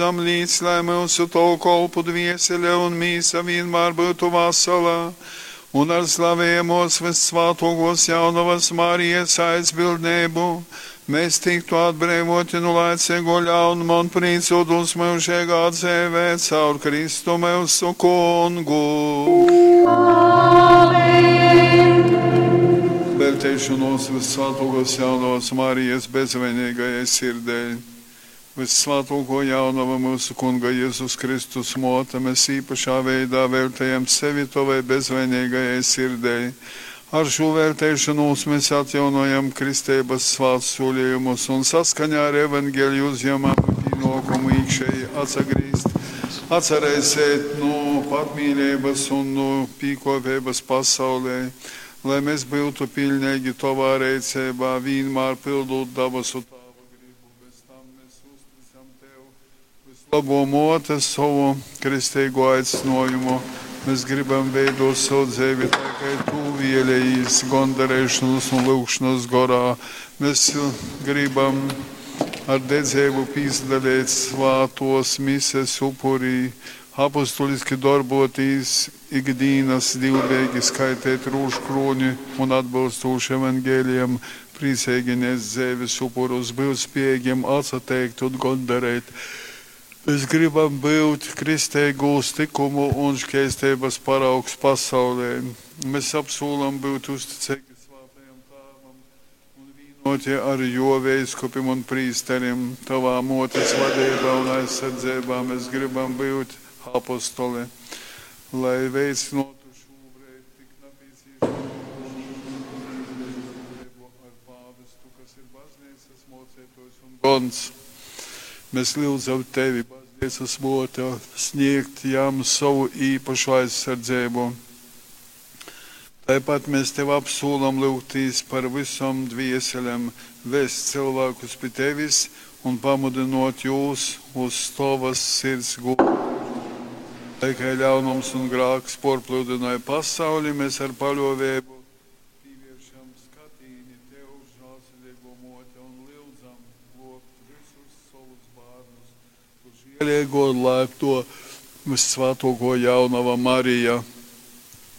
Lyudzam, līc, lai myusu Tovu kolpu dviesele un mīsa vīnmār byutu vasala, un ar slavejamōs vyssvātōkōs Jaunovas Marijas aizbildneibu mēs tiktu atbreivōti nu laiceigo ļaunuma un prīcōtūs myužeigā dzeivē caur Kristu myusu Kungu. Amen. Velteišonos vyssvātōkōs Jaunovas Marijas bezvainīgajai sirdei. Vyssvātōkō Jaunova, myusu Kunga Jezus Kristus mōte, mēs īpašā veidā veltejam sevi Tovai bezvainīgajai sirdei. Ar šo velteišanos mēs atjaunojam kristeibas svātsūlījumus un saskaņā ar evangeliju uzņemam pienākumu iekšēji atsagrīzt, atsareisēt no patmīlības un no pīkopības pasaulē, lai mēs būtu pilnīgi Tovā rīcībā, vienmēr pildot dabasu Tāva gribu. Bez tam mēs uzticam Tev vislabo mote savu kristīgo aicinājumu. Mēs gribam veidot savu dzīvi tā, kā Tu vēlējies gondarēšanas un lūgšanas gorā. Mēs gribam ar dedzību pīzdalīt svātos mises upurī, apustuliski darbotīs ikdienas divbēgi skaitīt rūžkroni un atbilstoši evangelijam, priecīgi nest dzīves upurus, būt spējīgiem atsateikt un gondarēt. Mēs gribam būt kristīgūs likumu un šķēstības paraugs pasaulē. Mēs apsūlam būt uzticīgi svētajam Tēvam un vienoti ar jo veiskupim un prīsterim. Tavā motes vadībā un aizsardzībā mēs gribam būt apostoli, lai veicinātu šobrīd tik nepieciešamo ar pāvestu, kas ir baznīcas mocētājs un gons. Mēs lūdzam tevi, baznīcas mote, sniegt jam savu īpašu aizsardzību. Tāpat mēs tev apsūlam lūgtīs par visam dvieselēm, vest cilvēkus pie tevis un pamudinot jūs uz tavas sirds gultu. Lai kā ļaunums un grāks porpludināja pasauli, mēs ar paļovēbu pievēršam skatīni tev, žēlsirdīgo mote, un lūdzam globt visus savus bērnus. Tu žēlīgo un laipto vissvētāko jaunava Marija.